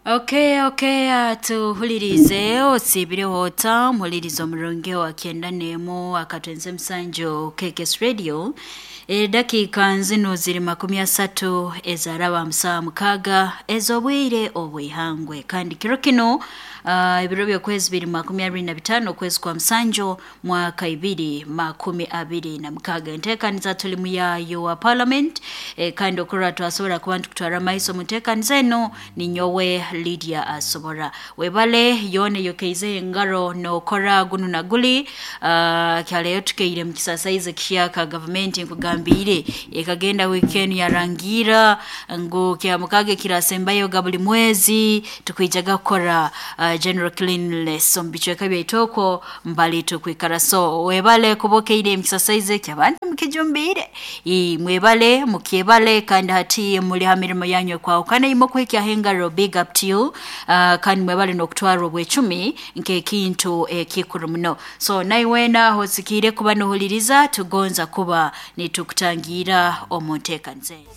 Okay, tuhulirize osiibireho ota muhulirize omurungi wa 91 akatwenze musanju KKS Radio. Edakiika nzino ziri 30 ezaraba 56 ez'obwire obw'ihangwe. Kandi kiro kino ebiro by'okwezi 2025 okwezi kwa musanju mwaka 2026. Enteekaniza tuli muyayo wa parliament, kandi okurora twasobora kuba nitukutwara amaiso mu nteekaniza eno ninyowe Lydia Asobora. Webale yoona eyokeizeho engaro nookora gunu na guli. Kyaleyo tukeire mu kisasaizi kihyaka gavumenti nkugambiire ekagenda wiiki enu yarangiira ngu kyamukaaga ekirasembayo ga buli mwezi tukwijaga kukora general cleanliness omu bicweka byaitu okwo mbali tukwikara. So webale kuba okeire mu kisasaizi eki abantu mukijumbiire. Mwebale mukyebale, kandi hati muli ha mirimo yanyu ekwahukana imwe okuhikyaho engaro, big up to you. Kandi mwebale n'okutwara obwecumi nk'ekintu ekikuru muno. So naiwe aho osikiire kuba nohuliriza, tugonza kuba nitukutangira omu nteekaniza enu.